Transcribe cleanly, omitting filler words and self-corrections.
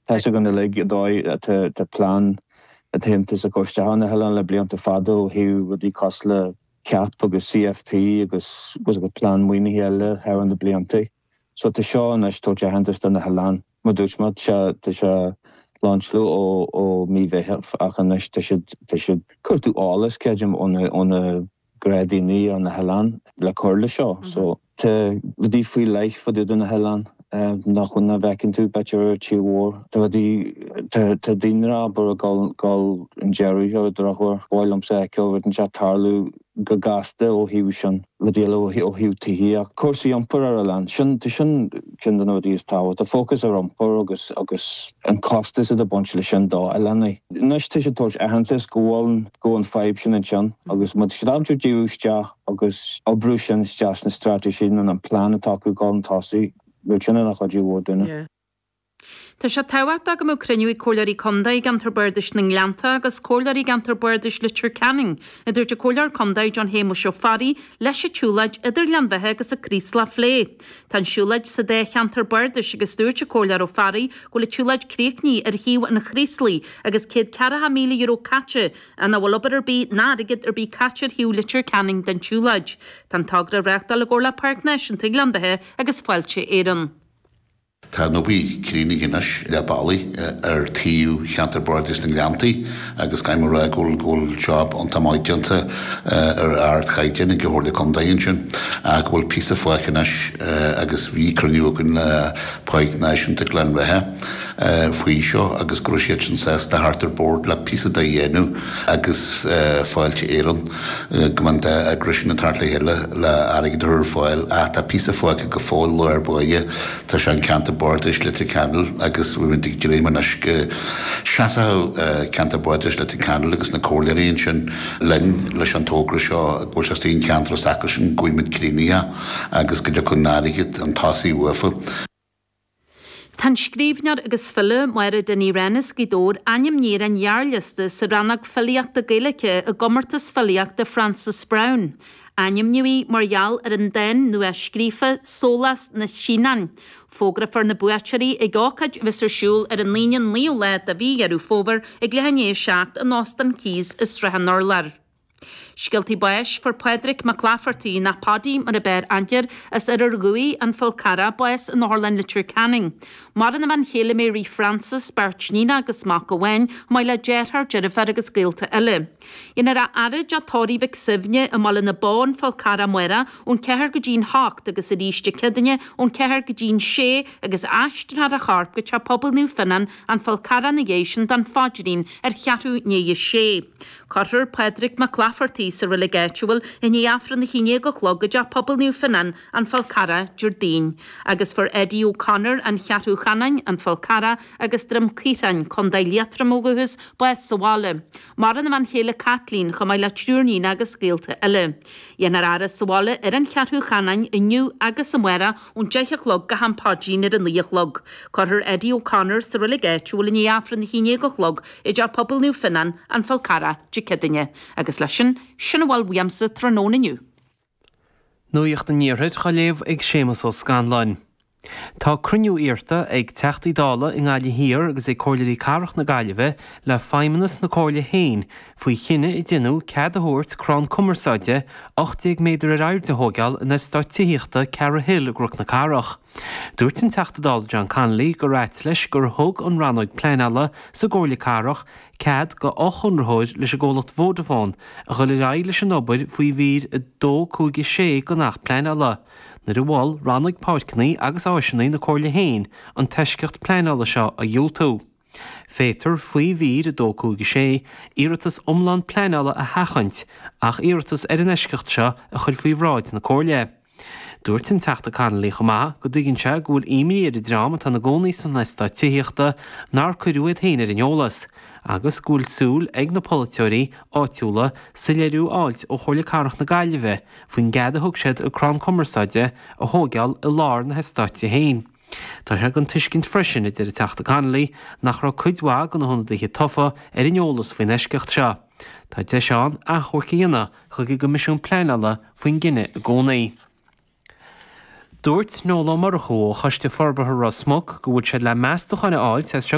Tá 'fhios againn uilig an dóigh atá plean an tAontas ag cur isteach ar na hoileáin le blianta fada ó thaobh rudaí cosúil le CAP agus CFP agus plean maoinithe eile thar na blianta. So tá seo anois ag tabhairt aitheantas do na hoileáin. Mar dúirt mé, tá sé lainseáilte ó mí Mheithimh ach anois tá siad tá siad cuartú eolas, creidim, ó na ó na gnáthdhaoine ar na hoileáin le cur le seo. So tá rudaí faoi leith fá dtaobh de na hoileáin nach bhfuil nach bhfeiceann tú b'fhéidir ar an tír mhór. Tá rudaí tá tá daoine abair ag dul dul chun deiridh ar an drochuair. Ba mhaith liomsa a fheiceáil rud inteacht tarlú go gasta ó thaobh sin, rudaí eile ó thaobh tithíocht, cúrsaí iompair ar oileán. Sin, tá sin ceann de na rudaí is tábhachtaí, fócas ar iompar agus agus an costas atá ag baint leis sin do oileánaigh. Anois tá siad ag tabhairt aitheantas go bhfuil go bhfuil an fadhb sin ansin agus má tá siad ábalta díriú isteach agus oibriú sin isteach sna straitéisí nó an plean atá acu dul chun tosaigh, bheadh sin ina chuidiú mhór dúinne. Tá sé tábhachtach go mbeadh cruinniú ag Comhairleoirí Contae i gceantar Bardais na nGleannta agus Comhairleoirí i gceantar Bardais Leitir Ceanainn, a dúirt an Comhairleoir Contae John Shéamuis Ó Fearraigh, leis an tsiúlóid idir Gleann Bheatha agus an Craoslach a phlé. Tá an siúlóid sa dá cheantar bardais agus dúirt an Comhairleoir Ó Fearraigh go bhfuil an tsiúlóid críochnaithe ar thaobh an Chraoslaigh agus €140,000 caite ach nach bhfuil obair ar bith ná airgead ar bith caite ar thaobh Leitir Ceanainn den tsiúlóid. Tá an togra á reáchtáil i gcomhar le Páirc Náisiúnta Ghleann Bheatha agus Fáilte Éireann. Tá an obair críochnaithe anois leath bealaigh ar taobh cheantar Bardais na nGleanntaí agus caithfidh mé a rá go bhfuil go bhfuil job iontach maith déanta ar ardchaighdeán ag an Chomhairle Contae ansin ach go bhfuil píosa fágtha anois agus bhí cruinniú againn le Páirc Náisiúnta Ghleann Bheatha faoi seo agus go raibh siadsan sásta theacht ar bord le píosa de a dhéanamh agus Fáilte Éireann go mbeadh an dá eagras sin ag teacht le chéile le airgead a chur ar fáil ach tá píosa fágtha go fóill lár báire Tá sé in ceantar bardais Leitir Ceanainn agus bhí muid ag dréim anois go seasfadh ceantar bardais Leitir Ceanainn agus na comhairleoirí ansin linn leis an togra seo go bhfuil sé istigh in ceantar s'acusan go bhfaighidh muid críochnaithe agus go dtiocfaidh an airgead chun tosaigh uafa. Tá an scríbhneoir agus file, Máire Dinny Wren as Gaoth Dobhair, ainmnithe ar an ghearrliosta sa rannóg filíochta Gaeilge i gComórtas Filíochta Frances Browne. Ainmníodh í mar gheall ar an dán nua-scríofa 'Sólás na Síneann'. Fógrófar na buaiteoirí ag ócáid a bheas ar siúl ar an Aoine an 9ú lá de mhí Dheireadh Fómhair ag leath i ndiaidh 7 in Óstán Keys i Srath an Urláir. Scéaltaí báis Fuair Pádraig Mac Laifeartaigh, nó Paddy mar a b'fhearr aithne air, as Oirear Dhuibhigh, An Fál Carrach, bás in Otharlann Leitir Ceanainn. Maireann a bhean chéile Mary Frances, beirt níonacha agus mac amháin, chomh maith le deartháir, deirfiúr agus gaolta eile. Dhéanfar a fhaire i dteach tórraimh Mhic Suibhne i mBaile na Bó, An Fál Carrach amárach ón 4 go dtí'n 8 agus arís Dé Céadaoine ón 4 go dtí'n 6 agus aistreofar a chorp go Teach Pobail Naomh Fionnán, An Fál Carrach ina dhiaidh sin don phaidrín ar cheathrú i ndiaidh a sé. Cuirfear Pádraig Mac Laifeartaigh sa reilig áitiúil i ndiaidh Aifreann a 11 a chlog i dTeach Pobail Naomh Fionnán, An Fál Carrach, Déardaoin. Agus fuair Eddie O'Connor, An Cheathrú Chanáin, An Fál Carrach agus Droim Caothráin, Contae Liatroim ó dhúchas, bás sa bhaile. Maireann a bhean chéile Caitlín, chomh maith le triúr níon agus gaolta eile. Dhéanfar a fhaire sa bhaile ar an Cheathrú Chanáin inniu agus amárach ón 10 a chlog go ham paidrín ar a 9 a chlog. Cuirfear Eddie O'Connor sa reilig áitiúil i ndiaidh Aifreann a 11 a chlog i dTeach Pobail Naomh Fionnán, An Fál Carrach, Dé Céadaoine. Agus leis sin, sin a bhfuil uaimse tráthnóna inniu. Nuacht an Iarthair á léamh ag Séamus Ó Scanláin. Tá cruinniú iarrta ag Teachtaí Dála i nGaillimh Thiar agus ag Comhairleoirí Cathrach na Gaillimhe le Feidhmeannas na Comhairle féin faoi chinneadh a deineadh cead a thabhairt crann cumarsáide 18 méadar ar airde a thóigeáil in eastát tithíochta Cara Hill i gCnoc na Cathrach. Dúirt an Teachta Dála John Connolly gur ait leis gur thug an Rannóg Pleanála sa gComhairle Cathrach cead do fhochonraitheoir leis an gcomhlacht Vodafone a dhul ar aghaidh leis an obair faoi mhír 2, 5, 6 den Acht Pleanála, nuair a mhol Rannóg Páirceanna agus Áiseanna na Comhairle féin an t-eisceacht pleanála seo a dhiúltú. Féadtar, faoi mhír 2, 5, 6, iarratas iomlán pleanála a sheachaint ach iarratas ar an eisceacht seo a chur faoi bhráid na Comhairle. Dúirt an Teachta Connolly chomh maith go dtuigeann sé go bhfuil imní ar an dream atá ina gcónaí san eastát tithíochta nár cuireadh iad féin ar an eolas agus go bhfuil súil ag na polaiteoirí áitiúla soiléiriú a fháilt ó Chomhairle Cathrach na Gaillimhe faoin gcead a thug siad an crann cumarsáide a thóigeáil i lár na heastáite féin. Tá sé den tuiscint freisin, a deir an Teachta Connolly, nach raibh cuid mhaith de na hionadaithe tofa ar an eolas faoin eisceacht seo. Tá deis ann achomharc a dhéanamh chuig an gCoimisiún Pleanála faoin gcinneadh i gcónaí. Dúirt Noel Ó Murchú ó Choiste Forbartha Ros Muc go bhfuil siad le meastacháin a fháilt as seo go.